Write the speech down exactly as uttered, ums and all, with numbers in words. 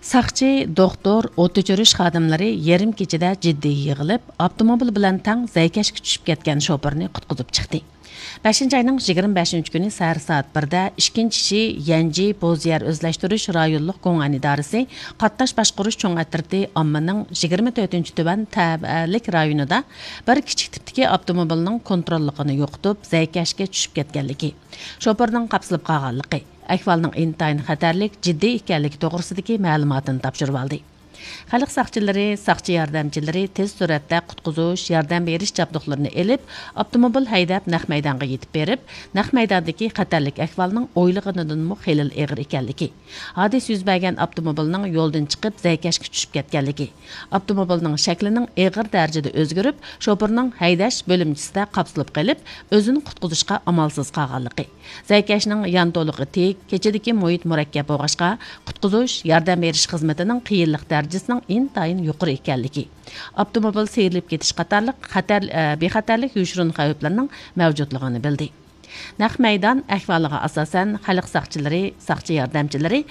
ساقچى، دوختۇر، ئوت ئۆچۈرۈش خادىملىرى يېرىم كېچىدە جىددىي يىغىلىپ، ئاپتوموبىل بىلەن تەڭ زەيكەشكە چۈشۈپ كەتكەن شوپۇرنى قۇتقۇزۇپ چىقتى. بەشىنچى ئاينىڭ يىگىرمە بەشىنچى كۈنى سەھەر سائەت بىردە ئىككىنچى شى يەنجى بوز يەر ئۆزلەشتۈرۈش رايونلۇق گوڭئەن ئىدارىسى قاتناش باشقۇرۇش چوڭ ئەترىتى ئاممىنىڭ يىگىرمە تۆتىنچى تۈەن تەۋەلىك رايونىدا بىر كىچىك تىپتىكى ئاپتوموبىلنىڭ كونتروللۇقىنى يوقىتىپ، زەيكەشكە چۈشۈپ كەتكەنلىكى، شوپۇرنىڭ قاپسىلىپ قالغانلىقى، ئەھۋالنىڭ ئىنتايىن خەتەرلىك، جىددىي ئىكەنلىكى توغرىسىدىكى مەلۇماتىنى تاپشۇرۇۋالدى. خەلق ساقچىلىرى، ساقچى ياردەمچىلىرى تېز سۈرئەتتە قۇتقۇزۇش، ياردەم بېرىش جابدۇقلىرىنى ئېلىپ، ئاپتوموبىل ھەيدەپ، نەق مەيدانغا يېتىپ بېرىپ، نەق مەيداندىكى خەتەرلىك ئەھۋالنىڭ ئويلىغىنىدىنمۇ خېلىلا ئېغىر ئىكەنلىكى، ھادىسە يۈز بەرگەن ئاپتوموبىلنىڭ يولدىن چىقىپ، زەيكەشكە چۈشۈپ كەتكەنلىكى، ئاپتوموبىلنىڭ شەكلىنىڭ ئېغىر دەرىجىدە ئۆزگىرىپ، شوپۇرنىڭ ھەيدەش بۆلۈمچىسىدە قاپسىلىپ قېلىپ، ئۆزىنى قۇتقۇزۇشقا ئامالسىز قالغانلىقى، زەيكەشنىڭ يانتولۇقى تىك، كېچىدىكى مۇھىت مۇرەككەپ بولغاچقا، قۇتقۇزۇش، ياردەم بېرىش خىزمىتىنىڭ قىيىنلىق دەرىجىسىنىڭ ئىنتايىن يۇقىرى ئىكەنلىكى، ئاپتوموبىل سىيرىلىپ كېتىش قاتارلىق خەتەر، ئە، بىخەتەرلىك يوشۇرۇن خەۋپلىرىنىڭ مەۋجۇتلۇقىنى بىلدى. نەق مەيدان ئەھۋالىغا ئاساسەن، خەلق ساقچىلىرى، ساقچى ياردەمچىلىرى